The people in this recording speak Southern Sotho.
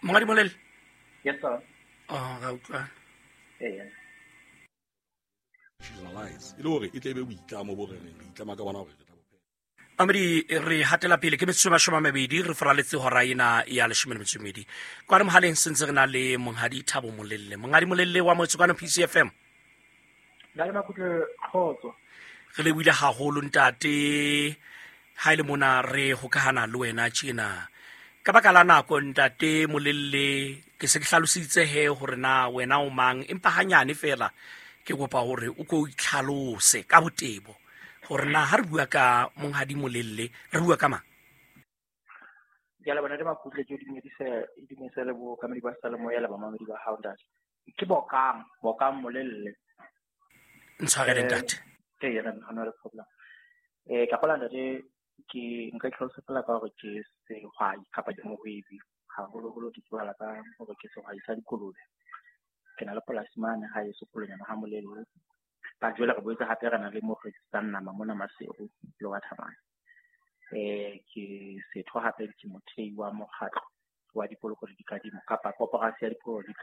Monghadi Molelle? Yes, sir. Oh, ra utlwana. Ee. Institutionalize e le hore e tle e be boitlamo bo re reng re itlama ka bona hore re tla bo phetha. Mamedi, re hatela pele ke metsotso e 20 re foraletse hora ena ya 12. Kwano mohaleng sentse re na le Monghadi Thabo Molelle. Monghadi Molelle wa motse kwano PCFM. Ntate Makutle, kgotso. Re lebohile haholo ntate, ha ile mona re hokahana le wena tjena. Ka baka la nako ntate Molelle, ke se ke hlalositse he hore na wena o mang, empa hanyane fela ke kopa hore o ko itlhalose ka botebo hore na ha re bua ka Monghadi Molelle re bua ka mang. Ke a leboha ntate Makutle, ke o dumedise, e dumedise le bookamedi ba Seyalemoya le bamamedi ba hao ntate. Ke Bokang, Bokang Molelle. Ntshwarele ntate. Ee, re na le problem. Ka gola ntate, ke nka itlhalosa fela ka hore ke sehwai kapa ke mohwebi. Haholoholo ke tsebahala ka hore ke sehwai sa dikolobe. Ke na le polasi mane ha eso Kolonyana ha Molelle. Ba jwale re boetse hape re na le mo re rekisang nama mona Maseru le wa Thabane. Ke setho hape ke mothei wa mokgatlo wa dipoloko le dikadimo kapa koporasi ya dipoloko le dikadimo.